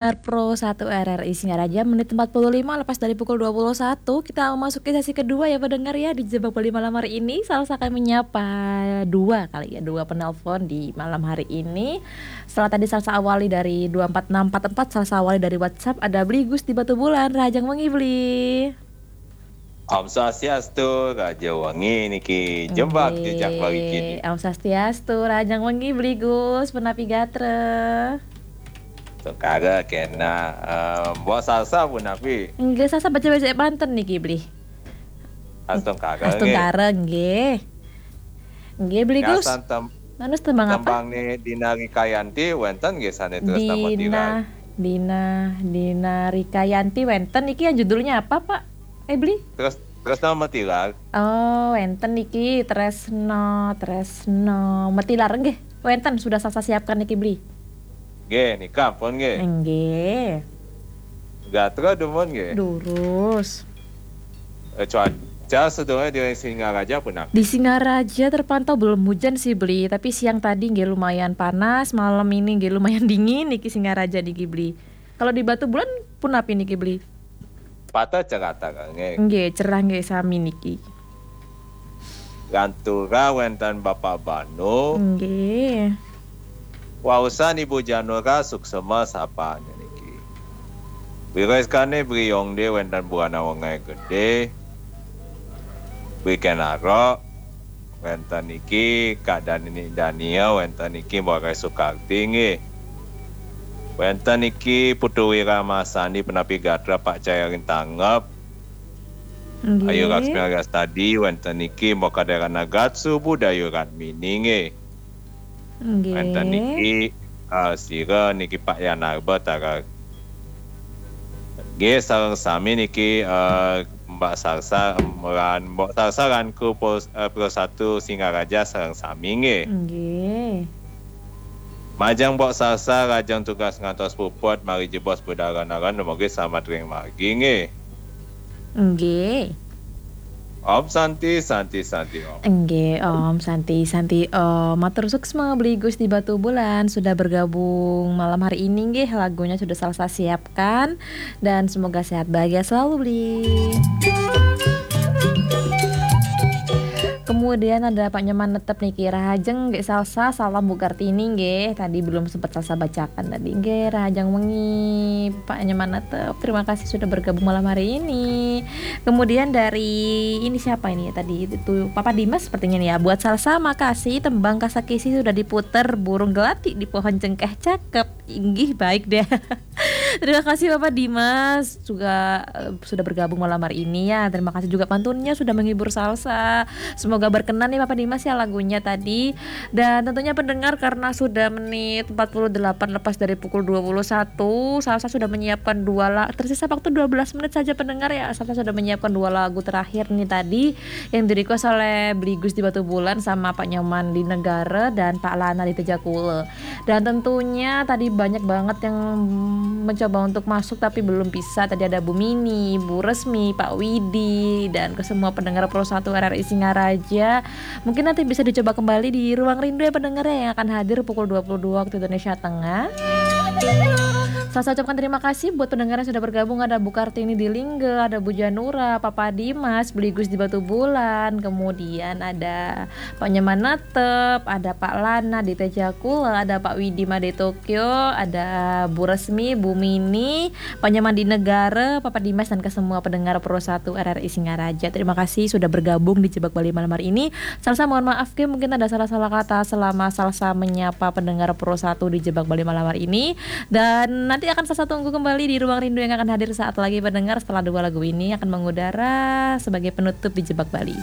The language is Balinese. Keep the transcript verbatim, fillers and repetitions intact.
Pro satu R R I Singaraja, menit empat puluh lima lepas dari pukul dua puluh satu. Kita memasuki sesi kedua ya, pendengar ya, di Jebak Bali malam hari ini. Salsa akan menyapa dua kali ya, dua penelpon di malam hari ini. Setelah tadi Salsa awali dari dua empat enam empat empat, Salsa awali dari WhatsApp, ada Bli Gus di Batubulan, rahajeng wengi Bli. Om Swastiastu, rahajeng wengi niki, Jebak Jejak Bali kini. Om Swastiastu, rahajeng wengi Bli Gus, punapi gatra? Astungkara kena, eh, Mbok Salsa punapi? Nggih, Salsa becik-becik manten niki, Bli. Astungkara, nggih. Astungkara, nggih. Nggih, Bli Gus. Ngasan tem-, manus tembang apa? Tembang ni Dina Rikayanti, wenten nggih sane terus nama Dina, Dina, Dina Rikayanti wenten. Niki yang judulnya apa, Pak? Eh, Bli? Terus, terus nama Tilar. Oh, wenten niki Tresno, Tresno. Metilar nggih. Wenten sudah Salsa siapkan niki, Bli. Nggih, nika pun nggih. Nggih. Gatra dumun nggih. Durus. Eh, cuaca sedurunge di Singaraja punapi? Di Singaraja terpantau belum hujan sih, Bli, tapi siang tadi nggih lumayan panas, malam ini nggih lumayan dingin niki Singaraja niki, Bli. Kalau di Batubulan punapi niki, Bli? Pateh cerah nggih. Nggih, cerah nggih sami niki. Lantura wenten Bapak Banu. Nggih. Wausan Ibu Janura suksema sapanya niki. Wiréskane Bri Yongde wenten Buana Wengai Gede. Bri Kenaro wenten niki, Kak Dani Dania wenten niki, Mbok Rai Sukarti nggih. Wenten niki Putu Wiramasandi punapi gatra, Pak Cahyarin Tanggep. Nggih. Ayu Laksmi Rastadi, wenten niki Mbok Kaderana Gatsu, Bu Dayu Ratmini nggih. Nggih. Wenten niki, eh, sira niki Pak Yanarba Tarar. Nggih, sareng sami niki, eh, Mbak Salsa, em, ran, Mbok Salsa ran kru Pro, eh, Pro satu Singaraja sareng sami nggih. Nggih. Majeng Mbok Salsa, rahajeng tugas ngantos puput, mari jebos budal ron-ron, dumugi selamet ring margi nggih. Nggih. Om Santi, Santi, Santi Om. Nggih, Om Santi, Santi Om. Matur suksma Bli Gus di Batubulan sudah bergabung malam hari ini nggih, lagunya sudah Salsa siapkan dan semoga sehat bahagia selalu, Bli. Kemudian ada Pak Nyoman Netep niki, rahajeng nggih Salsa, salam Bu Kartini nggih. Tadi belum sempat Salsa bacakan tadi. Nggih, rahajeng wengi Pak Nyoman Netep. Terima kasih sudah bergabung malam hari ini. Kemudian dari ini siapa ini ya tadi? Itu Papa Dimas sepertinya nih ya. Buat Salsa makasih, tembang Kasakisi sudah diputer, burung gelati di pohon cengkeh, cakep. Inggih, baik deh. Terima kasih Bapak Dimas juga, eh, sudah bergabung malam hari ini ya. Terima kasih juga pantunnya sudah menghibur Salsa. Semoga berkenan nih Bapak Dimas ya lagunya tadi. Dan tentunya pendengar, karena sudah menit empat puluh delapan lepas dari pukul dua puluh satu, Salsa sudah menyiapkan dua la-, tersisa waktu dua belas menit saja pendengar ya. Salsa sudah menyiapkan dua lagu terakhir nih tadi yang di-request oleh Bli Gus di Batubulan sama Pak Nyoman di Negara dan Pak Lana di Tejakula. Dan tentunya tadi banyak banget yang mencoba untuk masuk tapi belum bisa. Tadi ada Bu Mini, Bu Resmi, Pak Widi, dan ke semua pendengar Pro satu R R I Singaraja. Mungkin nanti bisa dicoba kembali di Ruang Rindu ya pendengar ya, yang akan hadir pukul dua puluh dua waktu Indonesia Tengah. Salsa ucapkan terima kasih buat pendengar yang sudah bergabung. Ada Bu Kartini di Lingga, ada Bu Janura, Papa Dimas, Bli Gus di Batubulan, kemudian ada Pak Nyoman Netep, ada Pak Lana di Tejakula, ada Pak Widi Made Tokyo, ada Bu Resmi, Bu Mini, Pak Nyoman di Negara, Papa Dimas, dan ke semua pendengar Pro satu R R I Singaraja. Terima kasih sudah bergabung di Jebak Bali malam hari ini. Salsa mohon maaf, Ki, mungkin ada salah-salah kata selama Salsa menyapa pendengar Pro satu di Jebak Bali malam hari ini. Dan nanti akan Salsa tunggu kembali di Ruang Rindu yang akan hadir saat lagi, pendengar, setelah dua lagu ini akan mengudara sebagai penutup di Jebak Bali.